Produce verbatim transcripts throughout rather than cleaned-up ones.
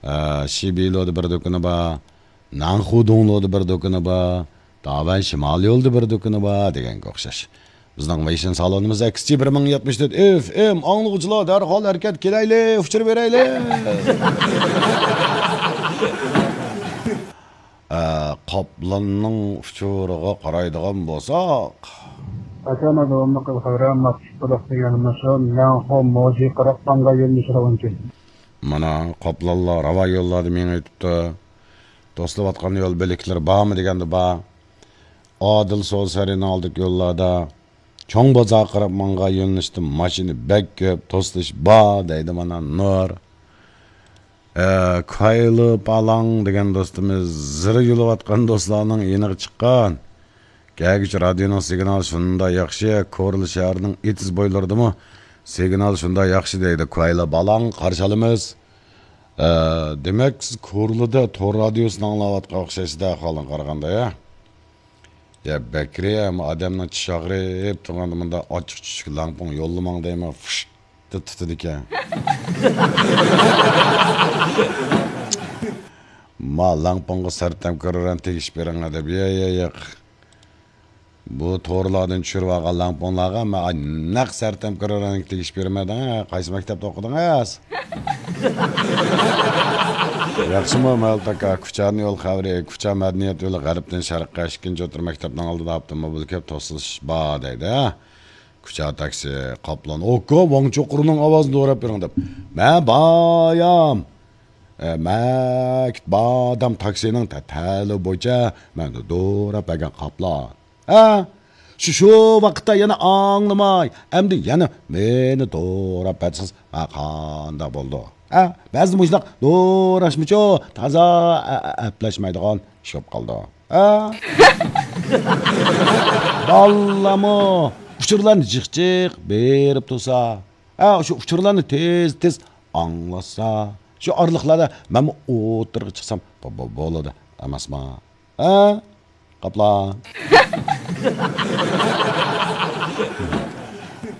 ئە، شىبىلودا بىر دۇكىنى بار، ناڭخۇدۇڭلۇدا بىر دۇكىنى بار، داۋەن شىمال يولدا بىر دۇكىنى بار دېگەنگە ئوخشاش. بىزنىڭ ۋېيشىن سالونىمىز ئەكسىچى بىر مىڭ يەتمىش تۆت ئېف ئېم. ئاڭلىغۇچىلار، دەرھال ھەرىكەت، كېلەيلى، ئۇچۇر بېرەيلى. ئە، قاپلاننىڭ ئۇچۇرىغا قارايدىغان بولساق، ئاچاما داۋاملىق خەۋرە مەخسۇس بولۇق دېگەن مۇشۇ مەنخۇ موجى قىرىق پاڭغا يۆنىلىش راۋانچى. مانا، قاپلانلار راۋان يوللاردا مېڭىۋېتىپتۇ. توسۇلۇۋاتقان يول بۆلەكلىرى بارمۇ دېگەندە بار. ئادىل سودا سارىيىنىڭ ئالدىدىكى يوللاردا چوڭ بازارغا قاراپ ماڭغان يۆنىلىشتە ماشىنا بەك كۆپ، توسۇلۇش بار دەيدۇ مانا نۇر. ئە، كايلى بالاڭ دېگەن دوستىمىز زىر يۇلۇۋاتقان دوستلارنىڭ يېنىغا چىققان. كەلگۈچى رادىيونىڭ سىگنالى شۇنداق ياخشى، كورلا شەھىرىنىڭ ئېتىز بويلىرىدىمۇ سىگنال شۇنداق ياخشى دەيدۇ. كايلى بالاڭ، قارشى ئالىمىز. ئە، دېمەك، سىز كورلىدا تور رادىيوسىنى ئاڭلاۋاتقان ئوخشايسىز-دە، ئەھۋالدىن قارىغاندا، يا؟ يا بەكرى، ئەمما ئادەمنىڭ چىشى ئاغرىپ تۇرغاندا مۇنداق ئاچچىق-چۈچۈك لەڭپۇڭ يوللىماڭ دەيمەن، فۇشت دەپ تۇتىدىكەن. ما لەڭپۇڭغا سەرتەم كىرىۋېرەن تېگىشىپ بېرىڭە دەپ، يا، يا، ياق. بۇ تورلاردىن چۈشۈرۈۋالغان لەڭپۇڭلارغا مەن نەق سەرتەم كىرىۋېرەن تېگىشىپ بېرىمەن دەڭە، قايسى مەكتەپتە ئوقۇدىڭىز؟ ياخشىمۇ مەۋلۇت ئاكا، كۇچانى يول خەۋىرى، كۇچا مەدەنىيەت يولى غەربتىن شەرققە ئىككىنچى ئوتتۇرا مەكتەپنىڭ ئالدىدا ئاپتوموبىل كۆپ توسۇلۇش بار دەيدۇ. كۇچا تاكسى، قاپلان، ئوكو، ۋاڭ چوقۇرنىڭ ئاۋازىنى دوراپ بېرىڭ دەپ. مەن بايام، ئە، مەكىت بادام تاكسىنىڭ تە-، تەلىپى بويىچە مەن دوراپ بەرگەن قاپلان. ھە؟ شۇ، شۇ ۋاقىتتا يەنە ئاڭلىماي، ئەمدى يەنە مېنى دوراپ بەرسىز، ھە، قانداق بولىدۇ؟ ھە؟ بەزىدە مۇشۇنداق دوراشمىچۇ، تازا ئە-، ئە-، ئەپلەشمەيدىغان ئىش بولۇپ قالىدۇ. ھە؟ بالىلارمۇ ئۇچۇرلارنى جىق جىق بېرىپ تۇرسا، ھە، شۇ ئۇچۇرلارنى تېز تېز ئاڭلاتسا، شۇ ئارىلىقلاردا مەنمۇ ئوتتۇرىغا چىقسام بو-، بو-، بولىدۇ ئەمەسما؟ ھە؟ قاپلان.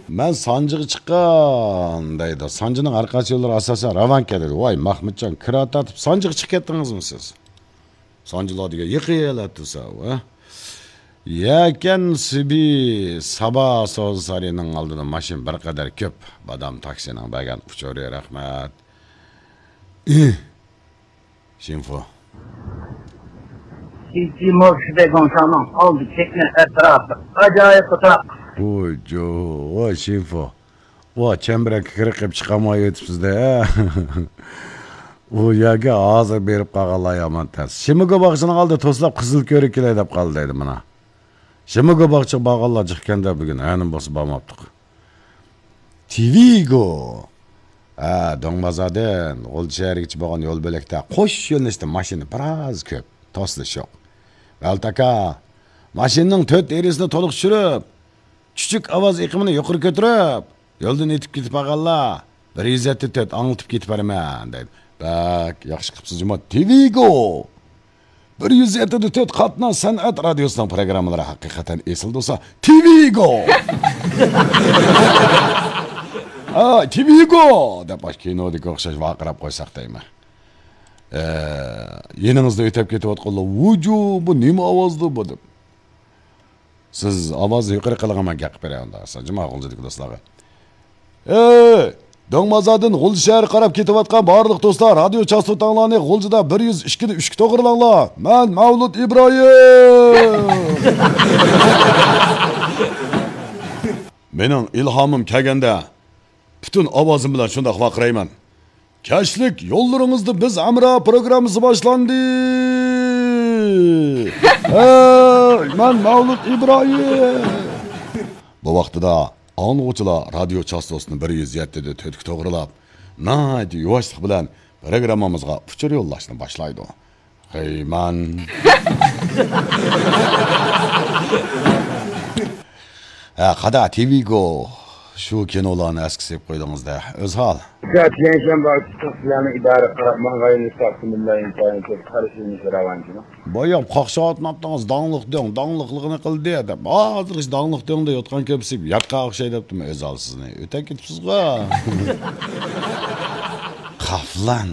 مەن سانجىغا چىققان دەيدۇ. سانجىنىڭ ھەر قايسى يوللىرى ئاساسەن راۋانكەن دەيدۇ. ۋاي، مەخمۇتجان، كىرا تارتىپ سانجىغا چىقىپ كەتتىڭىزمۇ سىز؟ سانجىلار دېگەن يېقىن ئەتتىسا، ۋە؟ يەكەن سىبى سابا سودا سارىيىنىڭ ئالدىدا ماشىنا بىر قەدەر كۆپ. بادام تاكسىنىڭ بەرگەن ئۇچۇرى، رەھمەت. ئىھ. شىنفۇ. ئىجىمو شىبەي گوڭشاڭنىڭ ئالدى چەكمە ئەتراپى ئاجايىپ قىزىق. ۋوي جو، ۋوي شىنفۇ. ۋا، چەمبىرەككە كىرىپ چىقالمايۋېتىپسىز-دە. ئۇ يەرگە ھازىر بېرىپ قالغانلار يامان تەس. شىمىگو باغچىنىڭ ئالدىدا توسلاپ قىزىل كۆرۈك كېلەي دەپ قالدى دەيدۇ مانا. شىمىگو باغچىغا بارغانلار جىقكەندە بۈگۈن، ھەنە بولسا بارماپتۇق. تىۋىگو. ھە، دوڭبازاردىن غۇلجا شەھىرىگىچە بولغان يول بۆلەكتە قوش يۆنىلىشتە ماشىنا بىراز كۆپ، توسۇلۇش يوق. مەۋلۇت ئاكا، ماشىنىنىڭ تۆت ئېرىسىنى تولۇق چۈشۈرۈپ، چۈچۈك ئاۋاز ئېقىمىنى يۇقىرى كۆتۈرۈپ، يولدىن ئۆتۈپ كېتىپ قالغانلار بىر يۈز يەتتە تۆت ئاڭلىتىپ كېتىپ بارىمەن دەيدۇ. بەك ياخشى قىپسىز جۇمۇ، تىۋىگو! بىر يۈز يەتتە تۆت قاتناش سەنئەت رادىيوسىنىڭ پروگراممىلىرى ھەقىقەتەن ئېسىل دوستلار. تىۋىگو! ھا، تىۋىگو! دەپ ئاشۇ كىنودىكى ئوخشاش ۋارقىراپ قويساق دەيمەن. ئە، يېنىڭىزدا ئۆتۈپ كېتىۋاتقانلار، ۋۇجۇ، بۇ نېمە ئاۋازدۇ بۇ دەپ. سىز ئاۋازنى يۇقىرى قىلىڭ، مەن گەپ قىلىپ بېرەي ئۇنداق. جۇمۇ غۇلجىدىكى دوستلارغا. ئەي، دۆڭمازاردىن غۇلجا شەھەرگە قاراپ كېتىۋاتقان بارلىق دوستلار، رادىيو چاستوتاڭلارنى غۇلجىدا بىر يۈز ئىككىدە ئۈچكە توغرىلاڭلار. مەن مەۋلۇت ئىبراھىم. مېنىڭ ئىلھامىم كەلگەندە، پۈتۈن ئاۋازىم بىلەن شۇنداق ۋارقىرايمەن. كەچلىك يوللىرىڭىزدا بىز ھەمراھ پروگراممىسى باشلاندى. ھەي، مەن مەۋلۇت ئىبراھىم. بۇ ۋاقتىدا ئاڭلىغۇچىلار رادىيو چاستوتىنى بىر يۈز يەتتىدە تۆتكە توغرىلاپ، ناھايىتى يۇۋاشلىق بىلەن پروگراممىمىزغا ئۇچۇر يوللاشنى باشلايدۇ. ھەي، مەن. ھە، قادا، تىۋىگو. شۇ كىنولارنى ئەسكە سېلىپ قويدىڭىز-دە. ئۆزھال. سىلەرنى ئىبارە قاراپ ماڭغايمىز، بىسمىللاھىررەھمانىررەھىم. بايام قاقشاۋاتماپتىڭىز، داڭلىق دۆڭ، داڭلىقلىقىنى قىلدى دەپ. ھازىرغىچە داڭلىق دۆڭدە يوتقان كۆپۈسى ياتقان ئوخشاي دەپتىمەن، ئۆزھال سىزنى. ئۆتەپ كېتىپسىزغۇ. قاپلان.